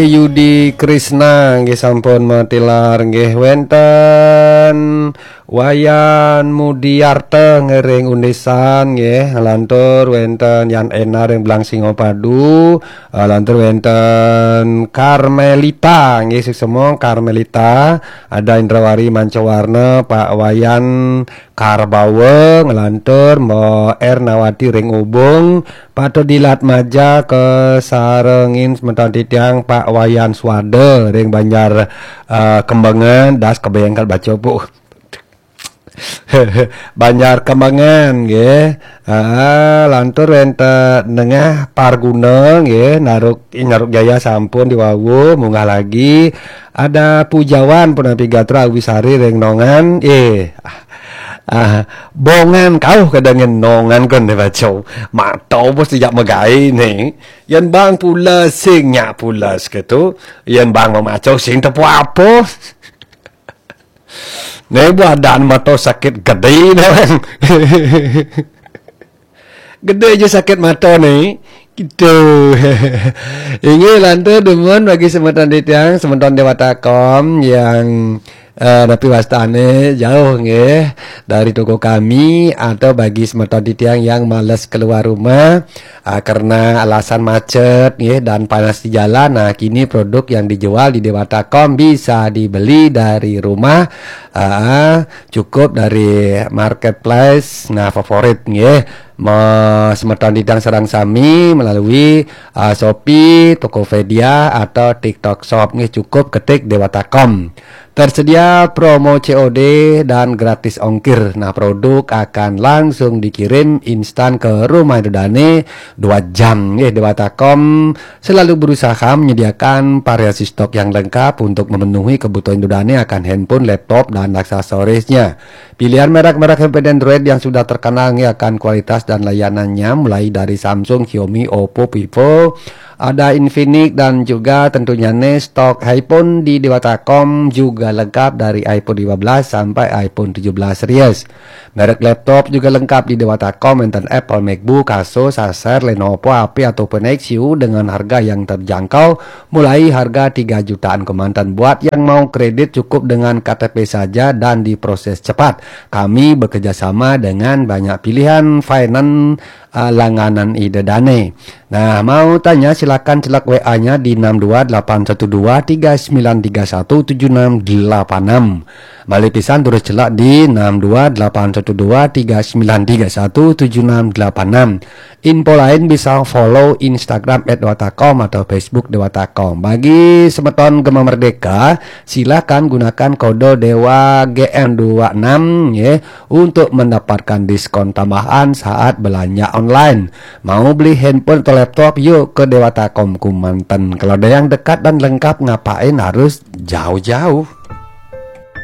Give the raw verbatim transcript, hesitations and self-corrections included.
Yudi Krisna nggih sampun matilar nggih, wenten Wayan Mudiarta ngiring Undisan nggih, lantur wenten Yan Ena ring Blang Singapadu, eh, lantur wenten Carmelita nggih, suksema Carmelita, ada Indrawari Mancawarna, Pak Wayan Karbawa, nglantur Mbok Ernawati ring Ubung, Patut Dilat Maja, kasarengin semeton titiang Pak Wayan Swada ring Banjar, eh, Kembangan, das kebayang kal baca, Bu. Banjar Kembangan nggih. Ah, lantur wenten Nengah Parguna nggih, Naruk, Naruk Jaya sampun diwawu, munggah lagi. Ada Pujawan punapi gatra Awisari ring Nongan. Eh, ah, ah, Bongan kauh kadangin Nongan kon dibaca. Mata bos tidak megai ni. Yan bang pula sing nyak pula seketu. Yan bang memaca sing tepu apa. Ni badan mata sakit gede ni. Gede je sakit mata ni. Gitu. Inggih lantur dumun bagi semeton titiang, semeton Dewata Kom yang, eh, napi wastane jauh nggih dari toko kami, atau bagi semeton titiang yang males keluar rumah, ah, karena alasan macet nggih dan panas di jalan. Nah, kini produk yang dijual di Dewata Kom bisa dibeli dari rumah, ah, cukup dari marketplace, nah, favorit nggih. Me-, semeton titiang sareng sami melalui, ah, Shopee, Tokopedia atau TikTok Shop nggih, cukup ketik Dewata Kom. Tersedia promo C O D dan gratis ongkir. Nah, produk akan langsung dikirim instan ke rumah Ida Dane dua jam nggih. Dewata Kom selalu berusaha menyediakan variasi stok yang lengkap untuk memenuhi kebutuhan Ida Dane akan handphone, laptop, dan aksesorisnya. Pilihan merek-merek handphone Android yang sudah terkenal nggih akan kualitas dan layanannya, mulai dari Samsung, Xiaomi, Oppo, Vivo, ada Infinix, dan juga tentunya nih stok iPhone di Dewata Kom juga lengkap dari iPhone lima belas sampai iPhone tujuh belas series. Merek laptop juga lengkap di Dewata Kom, enten Apple MacBook, Asus, Acer, Lenovo, H P ataupun Axioo dengan harga yang terjangkau, mulai harga tiga jutaan kemanten. Buat yang mau kredit cukup dengan K T P saja dan diproses cepat. Kami bekerja sama dengan banyak pilihan finance, ah, langganan Ida Dane. Nah, mau tanya silakan celak W A-nya di enam dua delapan satu dua tiga sembilan tiga satu tujuh enam delapan enam. Malih pisan terus celak di enam dua delapan satu dua tiga sembilan tiga satu tujuh enam delapan enam. Info lain bisa follow Instagram at dewata com atau Facebook Dewata Com. Bagi semeton Gema Merdeka, silakan gunakan kode Dewa G M dua enam nggih untuk mendapatkan diskon tambahan saat belanja online. Mau beli handphone atau laptop, yuk ke Dewata Com kemanten. Kalau ada yang dekat dan lengkap, ngapain harus jauh-jauh?